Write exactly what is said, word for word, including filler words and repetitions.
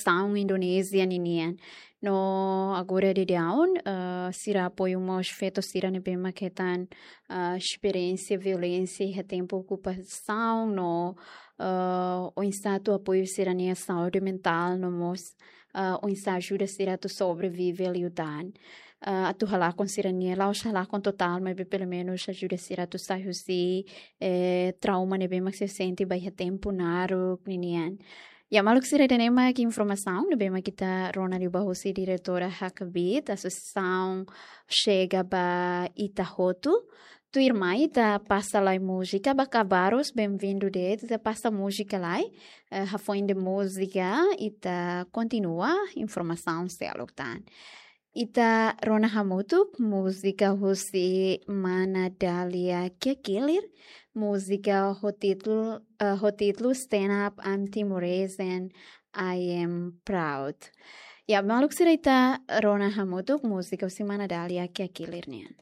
okupasaun Indonézia ninian. No agora daudaun, ah, sira apoiu mós feto sira ne'ebé mak hetan, ah, esperiénsia violénsia iha tempu okupasaun no, ah, oinsá atu apoiu sira-nia saúde mentál no mós, ah, oinsá ajuda sira atu sobrevive liután. Ah, atu halakon sira-nia, la'ós halakon totál, maibé pelumenus ajuda sira atu sai husi, eh, trauma ne'ebé mak sira sente ba iha tempu naruk ninian. Ya, maluk sira, ida-ne'e mak informasaun ne'ebé mak ita rona liu ba husi diretora Hakbiit, Asosiasaun Xega ba Ita Hotu. Tuirmai ita pasa lai múzika ba kabarus, benvindu de'it, ita pasa múzika lai, eh, hafoin de múzika, ita kontinua informasaun seluk tan. Ita rona hamutuk múzika husi Mana Dália Kiakilir, múzika ho títulu, eh, ho títulu Stand Up, I'm Timorese and I Am Proud. Ya, maluk sira, ita rona hamutuk múzika husi Mana Dália Kiakilir nian.